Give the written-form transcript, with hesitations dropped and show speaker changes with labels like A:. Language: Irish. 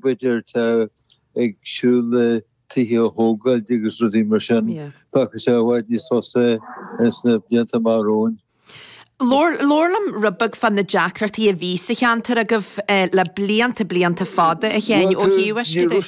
A: B'fhéidir atá ag siúl le tithe a thógáil agus rudaí mar sin. Feicfidh sé i bhfad níos fusa ins na blianta amach romhainn.
B: Labhair liom rud beag fá na deacrachtaí a bhí sa cheantar agaibh le blianta, blianta fada, a Sheáin, ó thaobh uisce de.